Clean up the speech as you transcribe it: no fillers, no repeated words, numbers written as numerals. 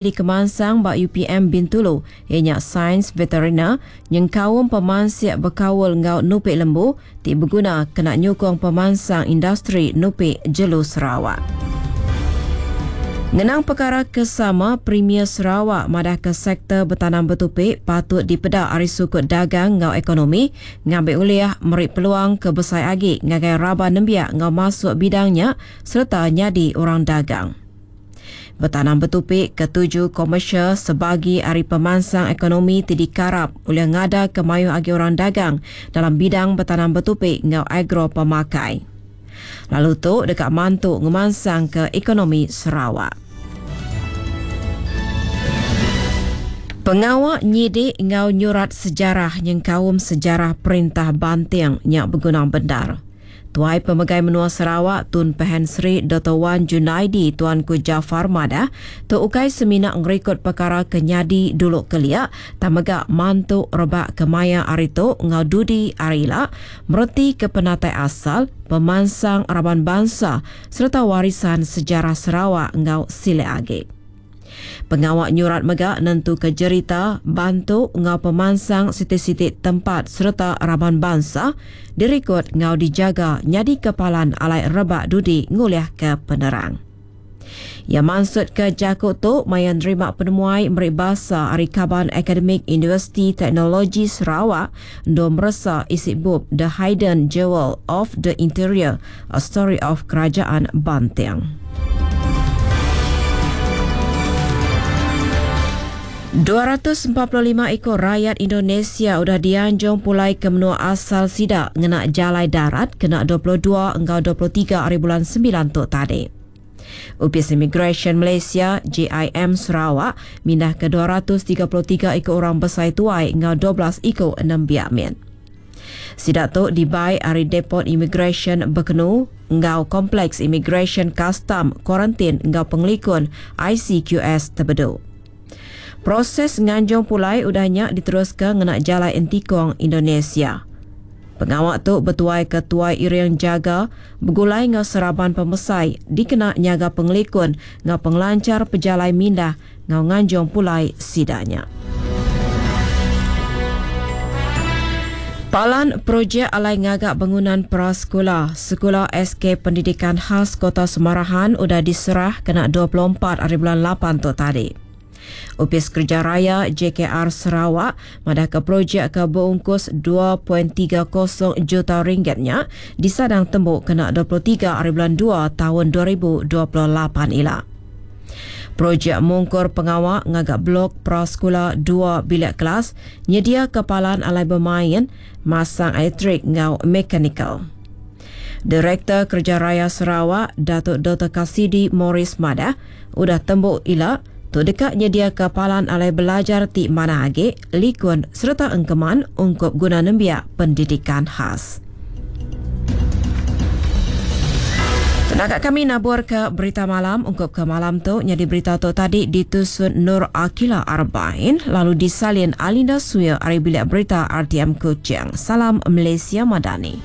Dikemansang ba UPM Bintulu iya nya Sains Veteriner nyengkaum pemansik bekaul enggau nupi lembu ti beguna kena nyukung pemansang industri nupi jelu Sarawak. Ngenang pekara ke sama, Premier Sarawak madahka sektor betanam betupi patut dipeda ari sukut dagang enggau ekonomi ngambi ulih meri peluang ke besai agi ngagai raban nembiak enggau masuk bidang nya sereta nyadi orang dagang. Betanam betupi ke tuju komersial sebagi ari pemansang ekonomi ti dikarap ulih ngadaka mayuh agi orang dagang dalam bidang betanam betupi enggau agro-pemakai. Lalu tu deka mantu ngemansangka ekonomi Sarawak. Pengawa nyidik enggau nyurat sejarah nyengkaum sejarah perintah Banting nya beguna bendar. Tuai Pemegai Menua Sarawak Tun Pehin Sri Doktor Wan Junaidi Tuanku Jaafar madah, tu ukai semina ngerikod pekara ke nyadi dulu kelia tang mega mantu rebak ke maya hari tu enggau dudi hari ila meretika penatai asal, pemansang raban bansa sereta warisan sejarah Sarawak enggau silik agi. Pengawa nyurat mega nentuka jerita, bantu enggau pemansang siti-siti tempat sereta raban bansa dirikod enggau dijaga nyadika palan alai rebak dudi ngulihka penerang. Iya mansutka jaku tu maya nerima penemuai meri basa ari kaban akademik Universiti Teknologi Sarawak endur meresa isi bup The Hidden Jewel of the Interior, A Story of Kerajaan Banting. 245 iku rayat Indonesia udah dianjung pulai ke menua asal sida ngena jalai darat kena 22 enggau 23 ari bulan 9 tu tadi. Opis Imigresen Malaysia, JIM, Sarawak mindahka 233 iku orang besai tuai enggau 12 iku nembiak mit. Sida tu dibai ari Depot Imigresen Bekenu enggau Kompleks Imigresen Kastam, Kuarantin enggau Pengelikun, ICQS, Tebedu. Proses nganjung pulai udah nya diteruska ngena Jalai Entikong Indonesia. Pengawa tu betuaika Tuai Iring Jaga begulai enggau seraban pemesai dikena nyaga pengelikun enggau pengelanchar pejalai mindah enggau nganjung pulai sida nya. Palan projek alai ngaga bangunan prasekula Sekula SK Pendidikan Khas Kota Semarahan udah diserah kena 24 ari bulan lapan tu tadi. Opis Kereja Raya JKR Sarawak madahka projek ke beungkus 2.30 juta ringgit nya disadang tembu kena 23 ari bulan dua taun 2028 ila. Projek mungkur pengawa ngaga blok prasekula dua bilik kelas, nyediaka palan alai bemain, masang elektrik enggau mekanikal. Direktor Kereja Raya Sarawak, Datuk Doktor Kasidi Morris madah, udah tembu ila, tu deka nyediaka palan alai belajar ti manah agi, likun sereta engkeman ungkup guna nembiak pendidikan khas. Tenaga kami naburka berita malam ungkup ke malam tu nyadi berita tu tadi ditusun Nur Akila Arbain lalu disalin Alinda Suya ari bilik berita RTM Kuching. Salam Malaysia Madani.